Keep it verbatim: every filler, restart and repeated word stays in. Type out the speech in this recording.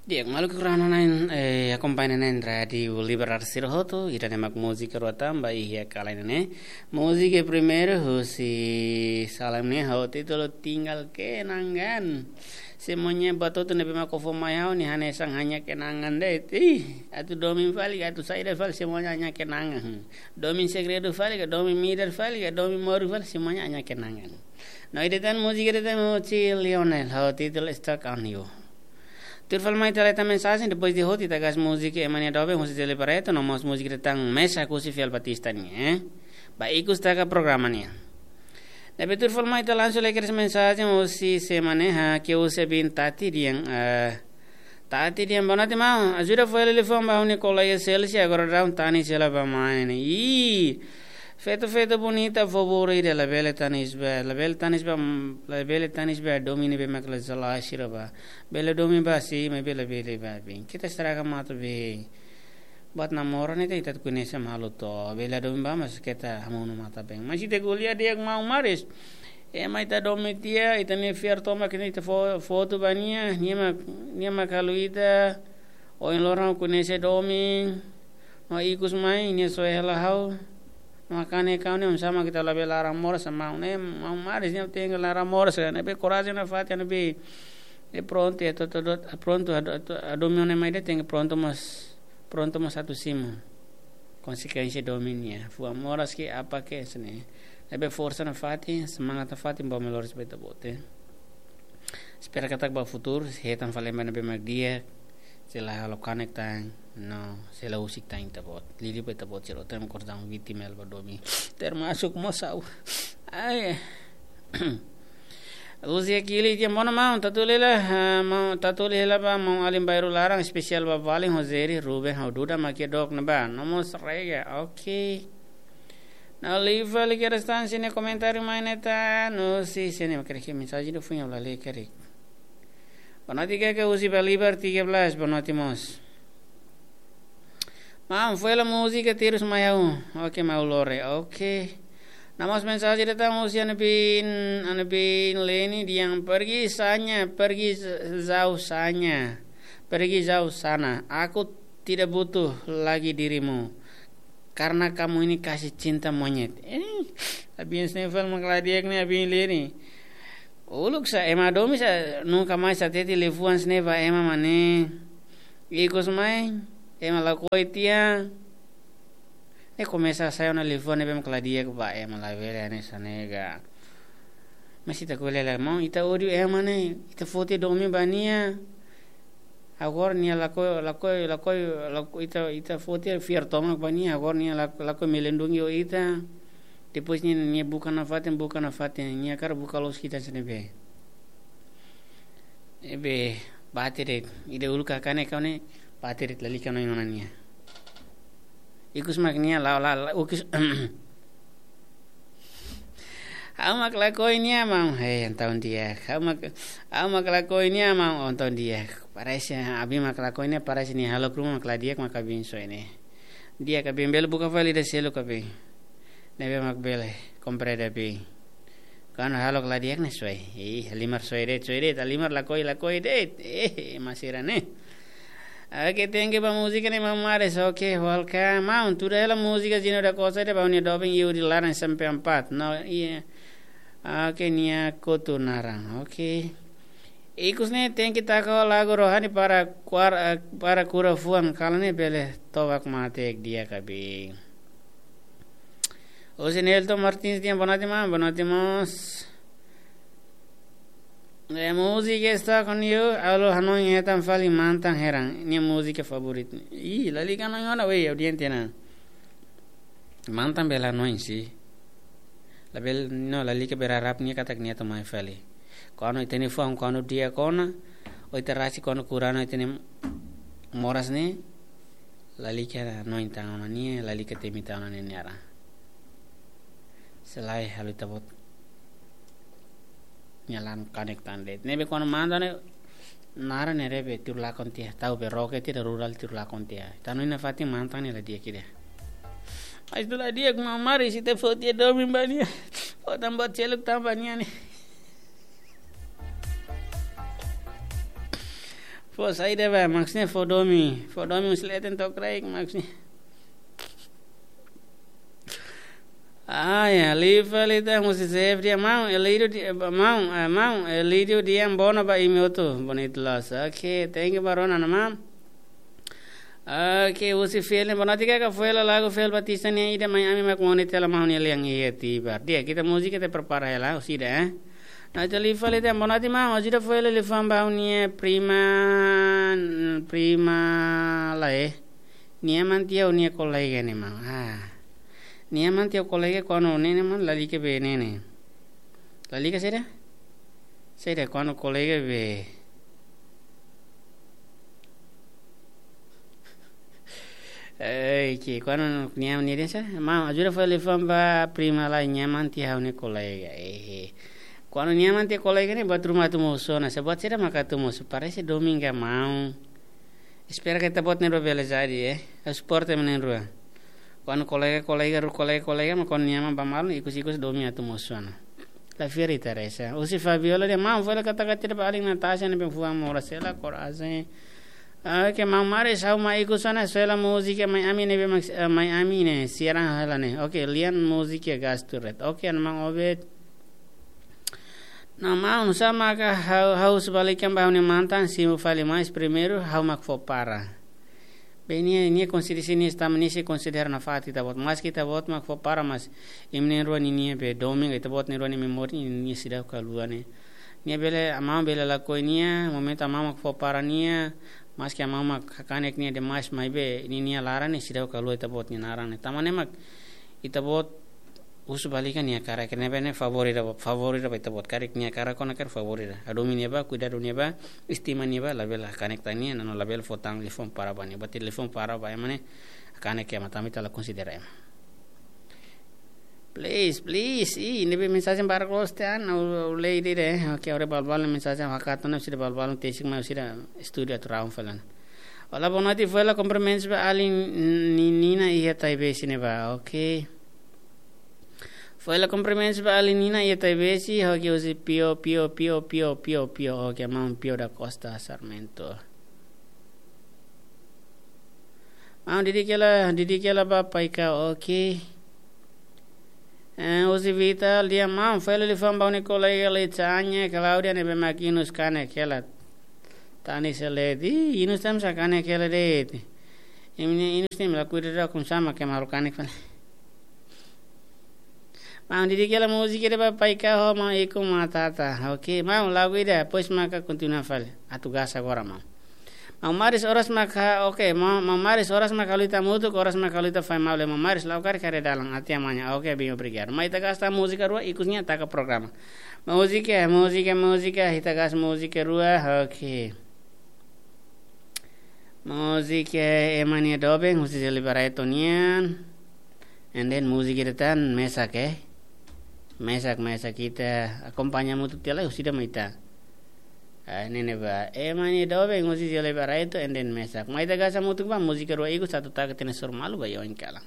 Di'ak, maluk rona na'in, eh, akompaña na'in Rádiu Libertar sira hotu, ida-ne'e mak múzika rua tan ba iha kala ne'e. Múzika primeiru, husi Salam ne'e, ho títulu Tinggal Kenangan. Semuanya buat hotu ne'ebé mak fó mai ha'u ne'e hanesan hanya kenangan de'it. Ih, atu domin fali, atu saida fali, semuanya hanya kenangan. Domin segredu fali ka, domin midar fali ka, domin moru fali, semuanya hanya kenangan. No ida tan múzika ida tan husi Lionel, ho títulu Stuck on You. Tuir fali mai ita lee tan mensajen, depois de hotu ita gas múzika ema nia doben husi Jeli Barreto, no mós múzika ida tan Mesak husi Fiel Batista nian, eh. Ba ikus taka programa nian. Ne'ebé tuir fali mai ita lansu lee kedas mensajen husi semana ha ke husi bin Tati dehan, eh, Tati dehan, boa noite, maun. Ajuda fó hela liafuan ba ha'u-nia kolega Celsi, agora daudaun tanis hela ba mai ne'e. Ih, feto-feto bonita, favor ida, labele tanis ba, labele tanis ba, labele tanis ba domin ne'ebé mak la jelas sira ba. Bele domin ba si, maibé labele ba bin. Keta estraga matan be. Buat namora ne'e ita, ita koñese malu to. Bele domin ba, mas keta hamonu matan be. Mas ita ko'alia di'ak, maun Maris. Ema ita domin tiha, ita-nia fiar tomak ne'e ita fó, foto ba nia, nia mak, nia mak halo ita. Ohin loron koñese domin. No ikus mai, nia soe hela ha'u. No kanek ha'u ne'e, oinsá mak ita labele laran moras, maun ne'e, maun Maris ne'e tenke laran moras, ne'ebé korajen nafatin, ne'ebé, eh, prontu, eh, to, to, to, prontu, ado-, to, domin ne'e mai de'it tenke prontu mós, prontu mós atu simu konsekuénsia domin nian. Fuan moras ke apa ke sini. Ne'ebé forsa nafatin, semangat nafatin, ba melhor se beta bote. Espera katak ba futuru, hetan fali ema ne'ebé mak di'ak, sei la halo kanek tan, no, sei la husik tan ita-boot. Liuliu ba ita-boot sira hotu mak kordaun vítima hela ba domin. Termasuk mós ha'u. Ai. Husi Akili dehan, boa noite, maun, tatu lela, ah, maun, tatu lela ba maun alin Bairru Laran, espesiál ba Valin, Rogério, Ruben, ho Duda, mak iha dook ne'ebá. No mós rega, oke. No liu fali kedas tan sira-nia komentáriu mai ne'e tan, no si sira-nia mak kedas mensajen ida foin ha'u la lee karik. Boa noite, Keke, husi Balibar tiga belas, boa noite mós. Maun, fó hela múzika Tirus Mai Ha'u. Oke, maun Lore, oke. No mós mensajen ida tan husi Anabin, Anabin Leni dehan pergi saja, pergi jauh saja. Pergi jauh sana. Aku tidak butuh lagi dirimu. Karena kamu ini kasih cinta monyet. Eh, abin snevel mak la di'ak ne'e, abin Leni. Uluk sa ema domin sa nunka mais hatete liafuan snevel ba ema mane. Ikus mai, ema lakohi tiha. Ne'e komesa sai ona liafuan ne'ebé mak la di'ak ba ema, labele hanesan ne'e ka. Mas ita ko'alia lai, maun, ita ódiu ema ne'e, ita foti domin ba nia. Agora nia lakohi, lakohi, lakohi, lakohi, ita, ita foti fiar tomak ba nia, agora nia lak-, lakohi melindungi ho ita. Depois nia, nia buka nafatin, buka nafatin, nia hakarak buka loos ita sira ne'ebé. Ne'ebé, bate de'it, ida uluk kanek ha'u ne'e, bate de'it, lalika hanoin ona nia. Ikus mak nia la, la, la, ukis. Ha'u mak lakohi nia, maun. Hei, entaun di'ak. Ha'u mak, ha'u mak lakohi nia, maun, entaun di'ak. Parese, abin mak lakohi nia, parese nia halo ruma mak la di'ak mak abin soe ne'e. Di'ak abin, bele buka fali ida seluk abin. Ne'ebé mak bele, komprende abin. Kuandu halo la di'ak ne'e soe. Ih, halimar soe de'it, soe de'it, halimar lakohi, lakohi de'it. Eh, ema sira ne'e. Oke, thank you ba múzika ne'e, maun Maris. Oke, welcome. Maun, tuda hela múzika Gino da Costa ida ba ha'u-nia doben Yuri Laran S M P empat. No, iya. Oke, nia kotu naran. Oke. Ikus ne'e tenke taka lagu rohani para kuar-, eh, para kura fuan, kala ne'e bele to'o bak mate di'ak abin. Husi Nelton Martins dehan boa noite, maun, boa noite mós. Eh, múzika Stuck on You, ha'u hanoin hetan fali mantan heran, nia múzika favoritu. Ih, lalika hanoin ona, wei, audiente na. Mantan bele hanoin si. Labele, no, lalika berharap nia katak nia atu mai fali. Kuandu ita-nia fuan, kuandu di'ak ona, ou ita rasik kuandu kura ona ita-nia moras ne'e, lalika hanoin tan ona nia, lalika temi tan ona nia naran. Selae halo ita-boot nia laran kanek tan de'it. Ne'ebé kuandu mantan ne'e naran ne'e rebe tiru lakon tiha, tau be roket tiha, rural tiru lakon tiha. Ita hanoin nafatin mantan ne'e la di'ak ida. Mas ita la di'ak, maun Maris, ita foti domin ba nia. Fó tan buat seluk tan ba nia ne'e. Pos, ai deba, maksudnya fó domin. Fó domin, husi leten to'o kraik, maksudnya. Ah, ya, lifa lita, husi chef dia, mau, Elidio dia, mau, eh, mau, Elidio dia, bona ba imi hotu, bonito las. Oke, thank you, Barona, na, mau. Oke, husi film, bona tika ka foi la lagu Fel Batista nia ida mai ami mak mone tela mau nia lian iya tibar. Dia, ita múzika ita prepara hela, husi ida, eh. Na ita lifa lita, bona ti mau, ajuda foi la lifa ba nia prima, prima la, eh. Nia aman tiha nia kolega ne'e, maun. Ah. Nia aman tiha kolega kuandu ne'e ne'e, maun, lalika be ne'e ne'e. Lalika saida? Saida kuandu kolega be. Eh, ke kuandu nia aman nia dehan saida? Maun, ajuda foi la lifa ba prima la, nia aman tiha nia kolega. Eh. Kuandu nia aman tiha kolega ne'e buat ruma atu mosu ona. Saida buat saida maka atu mosu? Parese domin ka, maun. Espera katak ita-boot na'in-rua bele jadi, eh. Ha'u suporta imi na'in-rua. Kuandu kolega-kolega, rua kolega-kolega, mak kuandu nia aman ba malu, ikus-ikus domin atu mosu ona. La fiar ita resa. Husi Fabiola dehan, maun, foi la kata-kata ba alin Natasha ne'ebé fuan moras hela, korajen. Oke, maun Maris, ha'u mai ikus ona, sei la múzika mai ami ne'ebé mak, eh, mai ami ne'e, siaran hela ne'e. Oke, lian múzika gastu ret. Oke, an maun Obed. Na maun, sá maka ha'u, ha'u husu ba lian ba ha'u-nia mantan, simu fali mais primeiru, ha'u mak fó para. Be nia, nia konsidera nia esta, nia sei konsidera nafatin ita-boot. Maski ita-boot mak fó para, mas imi na'in-rua ninia be domin, ita-boot na'in-rua nia memória, ninia seidauk haluha ne'e. Nia bele, maun bele lakohi nia, momentu maun mak fó para nia, maski maun mak hakanek nia demais, maibé ninia laran ne'e seidauk haluha ita-boot nia naran ne'e. Tanba ne'e mak ita-boot husu ba lian nia hakarak, ne'ebé ne'e favór ida, favór ida ba ita-boot, karik nia hakarak ona karik favór ida. Hadomi nia ba, kuidadu nia ba, estima nia ba, labele hakanek tan nia, no labele fó tan telefone para ba nia. Ba telefone para ba ema ne'e, hakanek ema, tanba ita la konsidera ema. Please, please, ih, ne'ebé mensajen barak loos tiha ona, ha'u, ha'u lee de'it, eh. Oke, agora balbal mensajen hakat ona, sira balbal tesik mai sira estúdiu atu raun falan. Olá, boa noite, foi la cumprimentos ba alin Nina iha Taibesi ne'ebá, oke. Foi la cumprimentos ba alin Nina iha Taibesi, oke, husi Pio, Pio, Pio, Pio, Pio, Pio, oke, maun Pio da Costa Sarmento. Maun, didik hela, didik hela ba Paika, oke. Eh, husi Vital dehan, maun, foi la liafuan ba ha'u-nia kolega Leitsa Anya, Claudia, ne'ebé mak Inus kanek hela. Tani seledi, Inus tan sá kanek hela de'it. Imi-nia Inus ne'e imi la kuidadu, kum sama ke malu kanek fali. Maun, didik hela múzika ida ba Paika ho maun Iko Matata. Oke, maun, lagu ida, depois maka kontinua fali. Atu gasta agora, maun. Maun Maris, oras maka, oke, maun, maun Maris, oras maka halo ita hamutuk, oras maka halo ita fai malu, maun Maris, la'o karik haree dalan, até amanhã. Oke, bem, obrigado. Mai ita gasta múzika rua, ikus nia taka programa. Múzika, múzika, múzika, ita gasta múzika rua, oke. Múzika ema nia doben, husi Zeli Barreto nian. And then múzika ida tan, mesak, eh. Mesak, mesak ita akompaña hamutuk tiha lai, husi ida mai ita. Ah, ne'e ne'ebá. Ema nia doben, husi Zeli Barreto, and then mesak. Mai ita gasta hamutuk ba, múzika rua ikus atu taka tiha ona suru malu ba oin kalan.